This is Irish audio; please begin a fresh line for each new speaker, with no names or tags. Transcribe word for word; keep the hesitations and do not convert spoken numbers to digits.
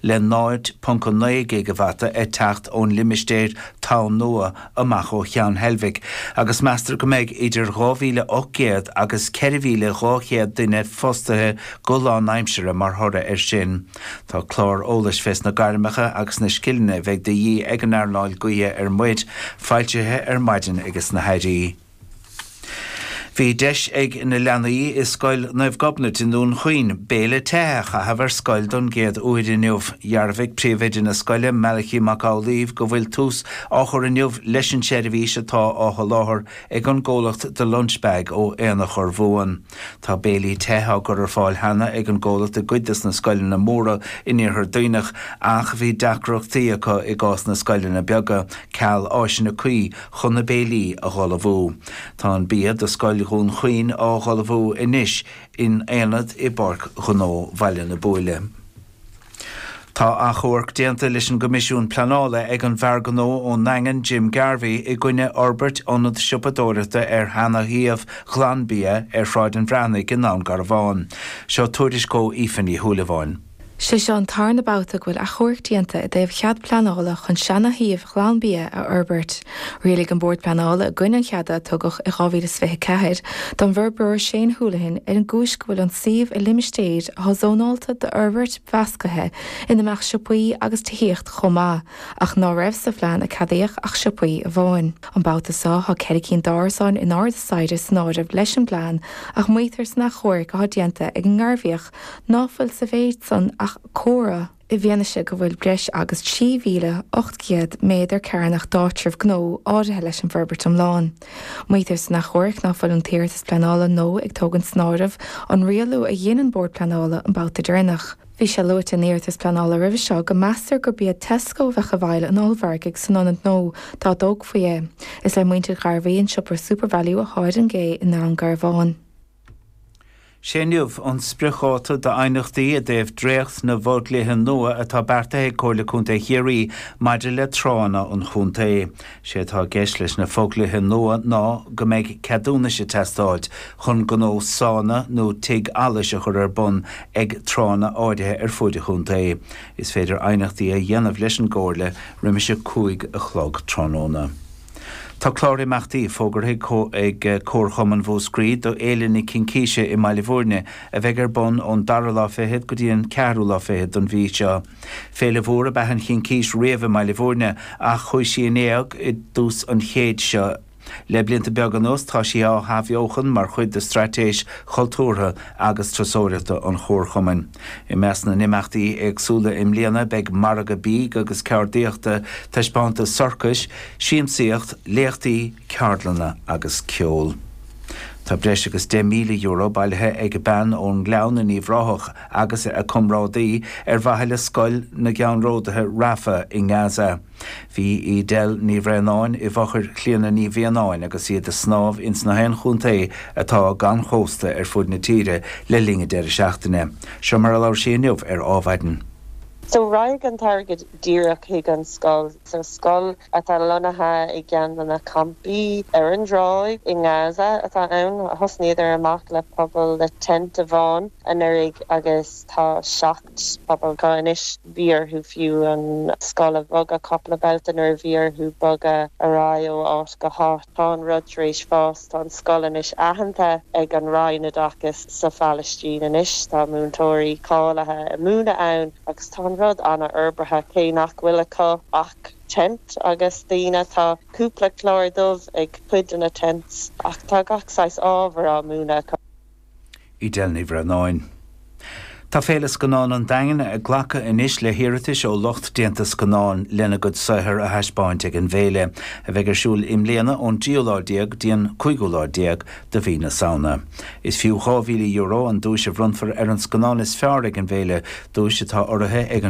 Le náid ponc naoi gigeavata ag teacht ón limistéar Tonn Nua amach ó Cheann Heilbhic, agus meastar go mbeidh idir dhá mhíle ocht gcéad agus ceithre mhíle dhá chéad duine fostaithe go lánaimseartha mar thoradh air sin. Tá clár eolais fés na gairmeacha agus na scileanna a bheidh de dhíth ag an earnáil gaoithe ar muir foilsithe ar maidin ages na hairí. Bhí deis ag na leanaí i scoil Naomh Gobnait i nDún Chaoin béile te a chaitheamh ar scoil don gcéad uair inniu. Dhearbhaigh príomhoide na scoile Malachy Mac Amhlaoibh go bhfuil tús á chur inniu leis an seirbhís atá á sholáthar ag an gcomhlacht The Lunch Bag ó Aonach Urmhumhan. Tá béilí te á gcur ar fáil cheana ag an gcomhlacht i gcuid des na scoileanna móra in Iarthar Duibhneach ach bhí deacrachtaí acu i gcás na scoileanna beaga ceal áiseanna cuí chun na béilí a ullmhú. Tá an bia do scoil Dhún Chaoin á ullmhú anois in aonad i bPáirc Ghnó Bhaile na Buaile. Tá achomharc déanta leis an gCoimisiún Pleanála ag an bhfear gnó ón nDaingean Jim Garvey i gcoinne fhorbairt ionad siopadóireachta ar sheana-shuíomh Ghlanbia ar Shráid an Bhreathnaigh i nDún Garbhán. Seo tuairisc ó Aoife Ní Shúilleabháin.
Sé seo an tarna babhta go bhfuil achomharc déanta i dtaobh chead pleanála chun seana-shuíomh Ghlanbia a fhorbairt. Rialaigh an Bord Pleanála i gcoinne an cheada a tugadh i dhá mhíle is fiche ceathair don bhforbróir Shane Houlihan ar an gcúis go bhfuil an suíomh i limistéir atá zónáilte d'fhorbairt mheasctha ina mbeadh siopaí agus tithíocht chomh maith, ach ná raibh sa phlean a ceadaíodh ach siopaí amháin. An babhta seo tá ceithre cinn d'árasáin in airde staighre san áireamh leis an bplean ach maítear san achomharc atá déanta ag an nGairbhíoch ná fuil sa mhéid san ach comhartha i bhfianaise go bhfuil breis agus trí mhíle ocht gcéad méadar cearnach d'áitreabh gnó áirithe leis an bhforbairt iomlán. Maítear san achomharc ná fuil an t-iarratas pleanála nua ag tógaint san áireamh an rialú a dhein an Bord Pleanála an babhta deireanach. Bhí sé luaite in iarratas pleanála roimhe seo go meastar gurb iad Tesco a bheadh i bhfeighil an ollmhargaidh san ionad nua dá dtógfaí é. Is le muintir Ghairbhí an siopa SuperValu atá ar an gcé i nDún Garbhán.
Sé inniu an spriocdháta d'aighneachtaí i dtaobh dréacht na bhfodhlíthe nua atá beartaithe ag Comhairle Contae Chiarraí maidir le tránna an chontae. Sé atá i gceist leis na fodhlíthe nua ná go mbeidh ceadúnais ag teastáil chun gnó sána nó tigh allais a chur ar bun ag tránna áirithe ar fuaid an chontae. Is féidir aighneachtaí a dhéanamh leis an gComhairle roimis a cúig a chlog tráthnóna. Tá clár imeachtaí fógartha ag Comharchumann Mhúscraí do Fhéile na Cincíse i mBaile Bhúirne a bheidh ar bun ón dara lá fichead go dtí an ceathrú lá fichead den mhí seo. Féile mhór ab ea an Chincís riamh i mBaile Bhúirne ach chuaigh sí in éag i dtús an chéid seo. Le blianta beaga anuas tá sí á hathbheochan mar chuid de straitéis chultúrtha agus turasóireachta an Chomharchumainn. I measc na n-imeachtaí éagsúla i mbliana beidh margadh bídh agus ceardaíochta, taispeántas sorcais, siamsaíocht, léachtaí, ceardlanna agus ceol. Tá breis agus deich míle euro bailithe ag bean ón nGleann in Uíbh Ráthach agus a comrádaí ar mhaithe le Scoil na gCeannródaithe Rafah i nGaza. Bhí Edel Ní Bhraonáin i bhfochair Chlíona Ní Mhianáin agus iad ag snámh ins na haon chontae atá gan chósta ar fud na tíre le linn an deireadh seachtaine. Seo mar a labhair sí inniu ar Adhmhaidin.
So rachaidh an t-airgead díreach chuig an scoil so scoil atá lonnaithe i gceann de na campaí ar an dtráigh i nGaza atá ann thosnaíodar amach le pobal le tent amháin anuraidh agus tá seacht pobal acu anois bhí orthu fiú an scoil a bhogadh cúpla babhta nuair a bhí orthu bogadh ar aghaidh ó áit go háit tá an rud tar éis fás tá an scoil anois aitheanta ag an Roinn Oideachais sa Phalaistín anois tá múinteoirí cáilithe ag múineadh ann agus tá an rud an-fhorbartha cé nach bhfuil acu ach tent agus daoine tá cúpla clár dubh ag cuid de na tents ach tá gach saghas ábhar á múineadh acu.
Edel Ní Bhraonáin. Tá Féile Scannán an Daingin ag glacadh anois le hiarratais ó lucht déanta scannán lena gcuid saothar a thaispeáint ag an bhféile, a bheidh ar siúl i mbliana ón tríú lá déag go dtí an cúigiú lá déag de mhí na Samhna. Is fiú dhá mhíle euro an duais a bhronnfar ar an scannán is fearr ag an bhféile, duais atá urraithe ag an